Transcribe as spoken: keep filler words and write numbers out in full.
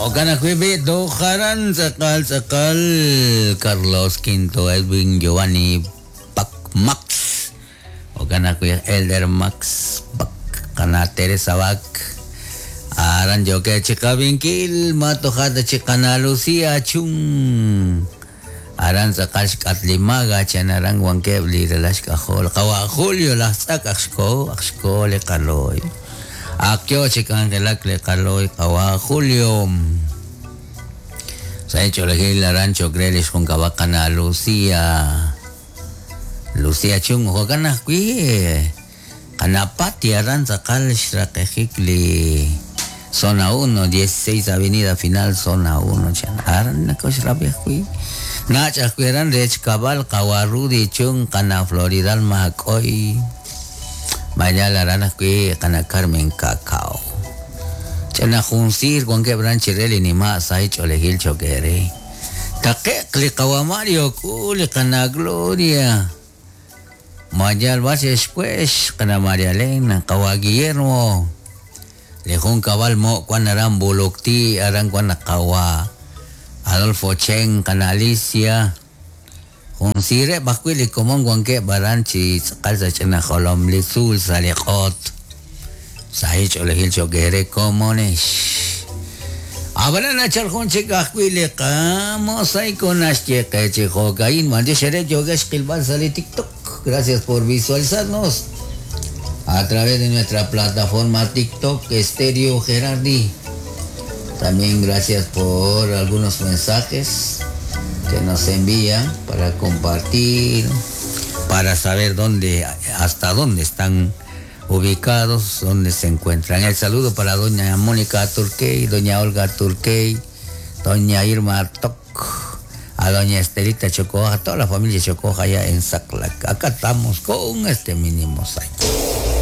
Jo'kan ajwi' b'i tojaran tz'aqal tz'aqal Carlos Quinto, Edwin Giovanni Pac Max. Jo'kan ajwi' Elder Max Pac, qana Teresa Bac. Aran yoke chiqabinkil matojata chiqana Lucía Chung. Aran tz'aqal xk'atlimaga chanaran wankeb' li relax k'ajol. Qawa Julio laj tz'ak ajxko ajxko li qaloy. Akyo chikangelak li qaloy qawa Julio. Sa cholejil aran chokre li xjunkaba qana Lucía. Lucía Chung jo'kan ajwi' qana Pati aran tz'aqal xraqejik li Zona uno, dieciséis Avenida Final, Zona uno, chan. Aran nako xrabi ajwi'. Nach ajwi' aran rech kabal qawa Rudy Chung qana Floridal Makoy. Mayal aran ajwi' qana Carmen Cacao. Chana junsir wankeb' ran chirel nima say cholejil chokere. Taqeq li qawa Mario ku li qana Gloria. Mayal base espuex qana María Elena qawa Guillermo. Le jun cabal mo cuan aran bulukti aran cuan qawa Adolfo Chen qana Alicia. Jun sire bajwi li komon wanke baran chi tz'aqal sa ch'ina jolom li tzul sa li q'ot. Sa cholejil chokere komonex. Abana chal jun chik ajwi li qamosaico naxyeqe chi jo'kain mande xere yogesh qilbal sa li TikTok. Gracias por visualizarnos a través de nuestra plataforma TikTok Estéreo Gerardi. También gracias por algunos mensajes que nos envían para compartir, para saber dónde, hasta dónde están ubicados, dónde se encuentran. El saludo para doña Mónica Turquey, doña Olga Turquey, doña Irma Toc, a doña Estelita Chocoja, a toda la familia Chocoja allá en Saclac. Acá estamos con este mini mosaico.